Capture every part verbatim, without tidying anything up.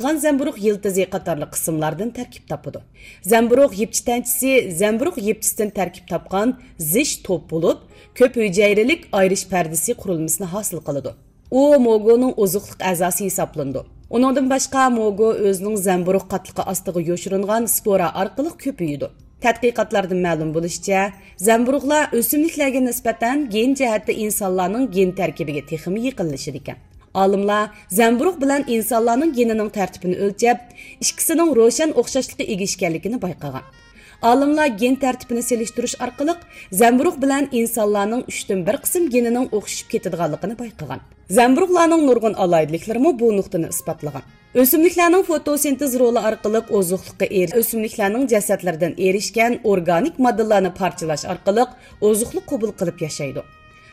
زەمبۇرۇغ يىلتىزى قاتارلىق قىسىملاردىن تەركىب تاپىدۇ. زەمبۇرۇغ يىپچىتەنچىسى زەمبۇرۇغ يىپچىسىدىن تەركىب تاپقان زىچ توپ بولۇپ، كۆپ ھۈجەيرىلىك ئايرىش پەردىسى قۇرۇلمىسىنى ھاسىل قىلىدۇ. ئۇ موگونىڭ ئوزۇقلۇق ئەزاسى ھېسابلىنىدۇ. ئۇنىڭدىن باشقا، موگو ئۆزىنىڭ زەمبۇرۇغ قاتلىقى ئاستىغا يوشۇرۇنغان سپورا ئارقىلىق كۆپىيىدۇ. تەتقىقاتلاردىن مەلۇم بولۇشىچە، زەمبۇرۇغلار ئۆسۈملۈكلەرگە نىسبەتەن گېن جەھەتتە ئىنسانلارنىڭ گېن تەركىبىگە تېخىمۇ يېقىنلىشىدىكەن. ئالىملار زەمبۇرۇغ بىلەن ئىنسانلارنىڭ گېنىنىڭ تەرتىپىنى ئۆلچەپ، ئىككىسىنىڭ روشەن ئوخشاشلىققا ئىگە ئىكەنلىكىنى بايقىغان. ئالىملار گېن تەرتىپىنى سېلىشتۇرۇش ئارقىلىق زەمبۇرۇغ بىلەن ئىنسانلارنىڭ ئۈچتىن بىر قىسىم گېنىنىڭ ئوخشىشىپ كېتىدىغانلىقىنى بايقىغان. زەمبۇرۇغلارنىڭ نۇرغۇن ئالاھىدىلىكلىرىمۇ بۇ نۇقتىنى ئىسپاتلىغان. ئۆسۈملۈكلەرنىڭ فوتوسىنتېز رولى ئارقىلىق ئوزۇقلۇققا ئېرىش، ئۆسۈملۈكلەرنىڭ جەسەتلىرىدىن ئېرىشكەن ئورگانىك ماددىلارنى پارچىلاش ئارقىلىق ئوزۇقلۇق قوبۇل قىلىپ ياشايدۇ.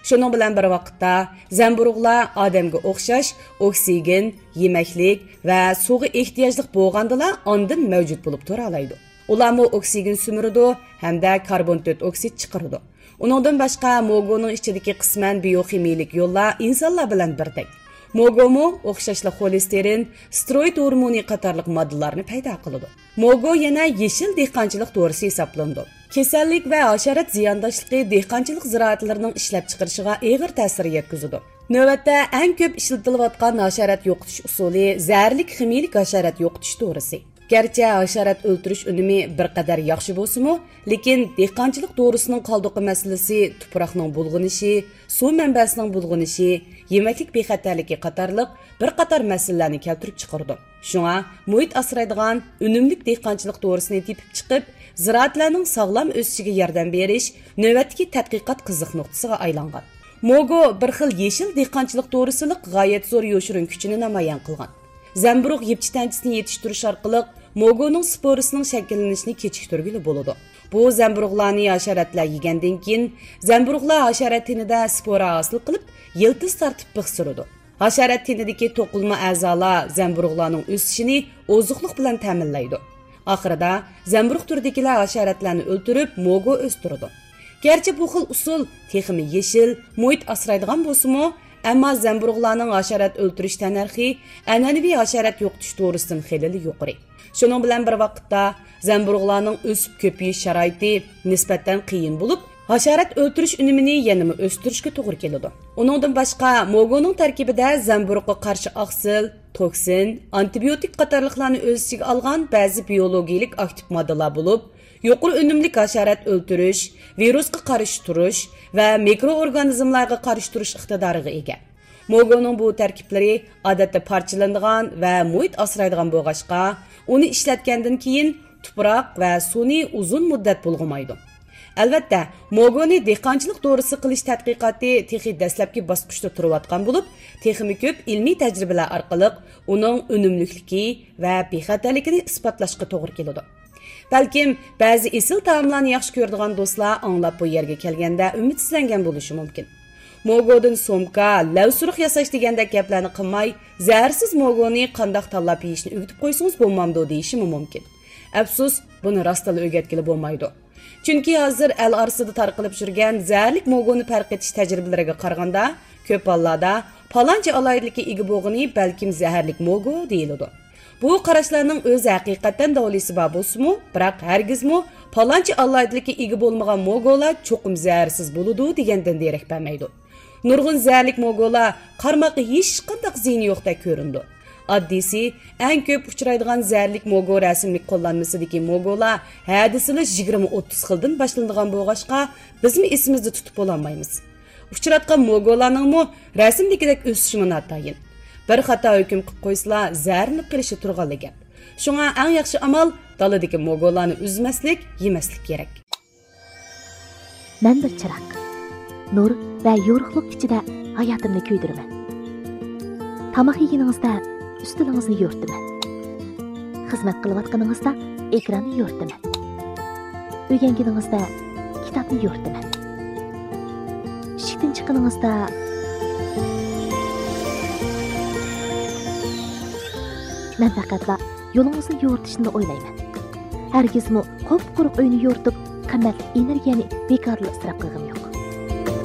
شۇنىڭ بىلەن بىر ۋاقىتتا، زەمبۇرۇغلار ئادەمگە ئوخشاش ئوكسىگېن، يېمەكلىك ۋە سۇغا ئېھتىياجلىق بولغاندىلا ئاندىن مەۋجۇت بولۇپ تۇرالايدۇ. ئۇلارمۇ ئوكسىگېن سۈمۈرىدۇ ھەمدە كاربون تۆت ئوكسىد چىقىرىدۇ. ئۇنىڭدىن باشقا، موگونىڭ ئىچىدىكى قىسمەن بىيوخىمىيىلىك يوللار ئىنسانلار بىلەن بىردەك. موگومۇ ئوخشاشلا خولېستېرىن، ستېروئىد ھورمونى قاتارلىق ماددىلارنى پەيدا قىلىدۇ. موگو يەنە يېشىل دېھقانچىلىق دورىسى ھېسابلىنىدۇ. كېسەللىك ۋە ھاشارات زىيانداشلىقى دېھقانچىلىق زىرائەتلىرىنىڭ ئىشلەپچىقىرىشىغا ئېغىر تەسىر يەتكۈزىدۇ. نۆۋەتتە ئەڭ كۆپ ئىشلىتىلىۋاتقان ھاشارات يوقىتىش ئۇسۇلى زەھەرلىك خىمىيىلىك ھاشارات يوقىتىش دورىسى. گەرچە ھاشارات ئۆلتۈرۈش ئۈنۈمى بىر قەدەر ياخشى بولسىمۇ، لېكىن دېھقانچىلىق دورىسىنىڭ قالدۇقى مەسىلىسى تۇپراقنىڭ بۇلغىنىشى، سۇ مەنبەسىنىڭ بۇلغىنىشى، يېمەكلىك بىخەتەرلىكى قاتارلىق بىر قاتار مەسىلىلەرنى كەلتۈرۈپ چىقىرىدۇ. شۇڭا، مۇھىت ئاسرايدىغان ئۈنۈملۈك دېھقانچىلىق دورىسىنى تېپىپ چىقىپ، زىرائەتلەرنىڭ ساغلام ئۆسۈشىگە ياردەم بېرىش نۆۋەتتىكى تەتقىقات قىزىق نۇقتىسىغا ئايلانغان. موگو بىر خىل يېشىل دېھقانچىلىق دورىسىلىق غايەت زور يوشۇرۇن كۈچىنى نامايان قىلغان. زەمبۇرۇغ يىپچىتەنچىسىنى يېتىشتۈرۈش ئارقىلىق موگونىڭ سپورىسىنىڭ شەكىللىنىشىنى كېچىكتۈرگىلى بولىدۇ. بۇ زەمبۇرۇغلارنى ھاشاراتلار يېگەندىن كېيىن، زەمبۇرۇغلار ھاشارات تېنىدە سپورا ھاسىل قىلىپ، يىلتىز تارتىپ بىخ سۈرىدۇ. ھاشارات تېنىدىكى توقۇلما ئەزالار زەمبۇرۇغلارنىڭ ئۆسۈشىنى ئوزۇقلۇق بىلەن تەمىنلەيدۇ. ئاخىرىدا زەمبۇرۇغ تۈرىدىكىلەر ھاشاراتلارنى ئۆلتۈرۈپ، موگو ئۆستۈرىدۇ. گەرچە بۇ خىل ئۇسۇل تېخىمۇ يېشىل، مۇھىت ئاسرايدىغان بولسىمۇ، ئەمما زەمبۇرۇغلارنىڭ ھاشارات ئۆلتۈرۈش تەننەرخى ئەنئەنىۋى ھاشارات يوقىتىش دورىسىدىن خېلىلا يۇقىرى. شۇنىڭ بىلەن بىر ۋاقىتتا، زەمبۇرۇغلارنىڭ ئۆسۈپ كۆپىيىش شارائىتى نىسبەتەن قىيىن بولۇپ، ھاشارات ئۆلتۈرۈش ئۈنۈمىنى يەنىمۇ ئۆستۈرۈشكە توغرا كېلىدۇ. ئۇنىڭدىن باشقا، موگونىڭ تەركىبىدە زەمبۇرۇغقا قارشى ئاقسىل، توكسىن، ئانتىبىيوتىك قاتارلىقلارنى ئۆز ئىچىگە ئالغان بەزى بىيولوگىيىلىك ئاكتىپ ماددىلار بولۇپ، يۇقىرى ئۈنۈملۈك ھاشارات ئۆلتۈرۈش، ۋىرۇسقا قارشى تۇرۇش ۋە مىكرو ئورگانىزملارغا قارشى تۇرۇش ئىقتىدارىغا ئىگە. موگونىڭ بۇ تەركىبلىرى ئادەتتە پارچىلىنىدىغان ۋە مۇھىت ئاسرايدىغان بولغاچقا، ئۇنى ئىشلەتكەندىن كېيىن تۇپراق ۋە سۇنى ئۇزۇن مۇددەت بۇلغىمايدۇ. ئەلۋەتتە، موگونى دېھقانچىلىق دورىسى قىلىش تەتقىقاتى تېخى دەسلەپكى باسقۇچتا تۇرۇۋاتقان بولۇپ، تېخىمۇ كۆپ ئىلمىي تەجرىبىلەر ئارقىلىق ئۇنىڭ ئۈنۈملۈكلۈكى ۋە بىخەتەرلىكىنى ئىسپاتلاشقا توغرا كېلىدۇ. بەلكىم، بەزى ئېسىل تائاملارنى ياخشى كۆرىدىغان دوستلار ئاڭلاپ بۇ يەرگە كەلگەندە ئۈمىدسىزلەنگەن بولۇشى مۇمكىن. موگودىن سومكا، لەۋسۇرۇق ياساش دېگەندەك گەپلەرنى قىلماي، زەھەرسىز موگونى قانداق تاللاپ يېيىشنى ئۆگىتىپ قويسىڭىز بولمامدۇ دېيىشىمۇ مۇمكىن. ئەپسۇس، بۇنى راستتىنلا ئۆگەتكىلى بولمايدۇ. چۈنكى ھازىر ئەل ئارىسىدا تارقىلىپ يۈرگەن زەھەرلىك موگونى پەرق ئېتىش تەجرىبىلىرىگە قارىغاندا، كۆپ ھاللاردا پالانچە ئالاھىدىلىككە ئىگە بولغىنى بەلكىم زەھەرلىك موگو دېيىلىدۇ. بۇ قاراشلارنىڭ ئۆزى ھەقىقەتەن داۋلىسى بار بولسىمۇ، بىراق ھەرگىزمۇ پالانچە ئالاھىدىلىككە ئىگە بولمىغان موگولار چوقۇم زەھەرسىز بولىدۇ دېگەندىن دېرەك بەرمەيدۇ. نۇرغۇن زەھەرلىك موگولار قارىماققا ھېچقانداق زىيىنى يوقتەك كۆرۈنىدۇ. ئاددىيسى، ئەڭ كۆپ ئۇچرايدىغان زەھەرلىك موگو رەسىملىك قوللانمىسىدىكى موگولار ھە دېسىلا يىگىرمە ئوتتۇز خىلدىن باشلىنىدىغان بولغاچقا، بىزمۇ ئېسىمىزدە تۇتۇپ بولالمايمىز. ئۇچراتقان موگولارنىڭمۇ رەسىمدىكىدەك ئۆسۈشىمۇ ناتايىن. بىر خاتا ھۆكۈم قىلىپ قويسىلا، زەھەرلىنىپ قېلىشى تۇرغانلا گەپ. شۇڭا ئەڭ ياخشى ئامال دالىدىكى موگولارنى ئۈزمەسلىك، يېمەسلىك كېرەك. مەن بىر چىراغ. نۇر ۋە يورۇقلۇق ئىچىدە ھاياتىمنى كۆيدۈرىمەن. تاماق يېگىنىڭىزدە ئۈستىلىڭىزنى يورۇتىمەن. خىزمەت قىلىۋاتقىنىڭىزدا ئېكراننى يورۇتىمەن. ئۆگەنگىنىڭىزدە كىتابنى يورۇتىمەن. ئىشىكتىن چىققىنىڭىزدا مەن پەقەتلا يولىڭىزنى يورۇتۇشنىلا ئويلايمەن. ھەرگىزمۇ قۇپقۇرۇق ئۆينى يورۇتۇپ، قىممەتلىك ئېنېرگىيەنى بىكارلا ئىسراپ قىلغىنىم يوق.